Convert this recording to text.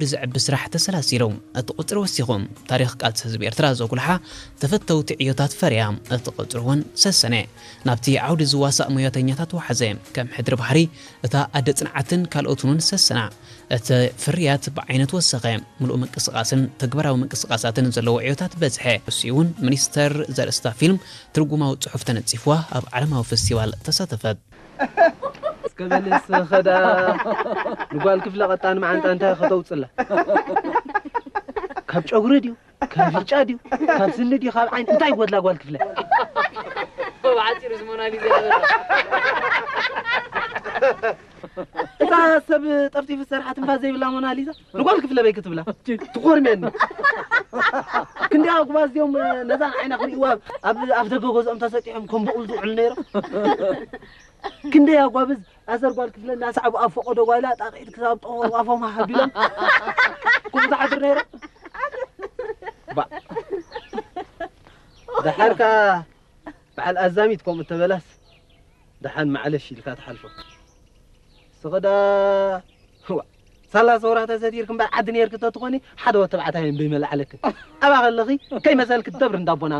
ዓውዲ ዘዕቢ ስራሕ ተሰላሲሉ። እቲ ቁጽሪ ወሲኹ፣ ታሪኽ ቃልሲ ህዝቢ ኤርትራ ዘጉልሓ ተፈተውቲ ዕዮታት ፈርያ። እቲ ቁጽሪ እውን ሰሰነ። ናብቲ ዓውዲ ዝዋሳእ ሞያተኛታት ወሓዘ። ከም ሕድሪ ባሕሪ፣ እታ ኣደ ጽንዓትን ካልኦትን እውን ሰሰና። እቲ ፍርያት ብዓይነት ወሰኸ። ምሉእ ምንቅስቓስን ተግባራዊ ምንቅስቓሳትን ዘለዎ ዕዮታት በዝሐ። እሱ እውን ሚኒስተር ዘርእስታ ፊልም ትርጉማዊ ጽሑፍ ተነጺፍዋ ኣብ ዓለማዊ ፈስቲቫል ተሳተፈት። እስከ በል እስኸ ዳ ንጓል ክፍለ ቀጣን መዓንጣ እንታይ ከተውፅላ? ካብ ጨጉሪ ድዩ? ካብ ፍጫ ድዩ? ካብ ስኒ ድዩ? ካብ ዓይኒ እንታይ ይጎድላ ጓል ክፍለ? ብሓጺሩ እዚ ሞናሊዛ ይበላ። እታ ሰብ ጠፍጢፉ ዝሰርሓ ትንፋስ ዘይብላ ሞናሊዛ ንጓል ክፍለ በይ ክትብላ ትኾርምየኒ። ክንደይ ኣጉባዝ እዮም ነዛን ዓይና ክርእይዋ ኣብ ኣፍ ደገ ገዝኦም ተሰጢሖም ከም በቑል ዝውዕሉ ነይሮም። ክንደይ ኣጓብዝ ኣዘር ጓል ክፍለ እናሰዓቡ ኣብ ፈቐዶ ጓይላ ጣቕዒት ክሳብ ጠቑ ኣፎም ሃቢሎም ክብዛሓድር ነይሮም። ባ ደሓርካ በዓል ኣዛሚት ከምኡ ተበላስ ደሓን ማዕለሽ ኢልካ ትሓልፎ። ስኸዳ ዋ ሳላ ሰውራ ተሰቲርክ እምበር ዓዲ ነርክ ተትኾኒ ሓደ ወተባዕታይ እምበይ መላዕለክን ኣባ ከለኺ ከይመሰልክ ትደብር እንዳቦና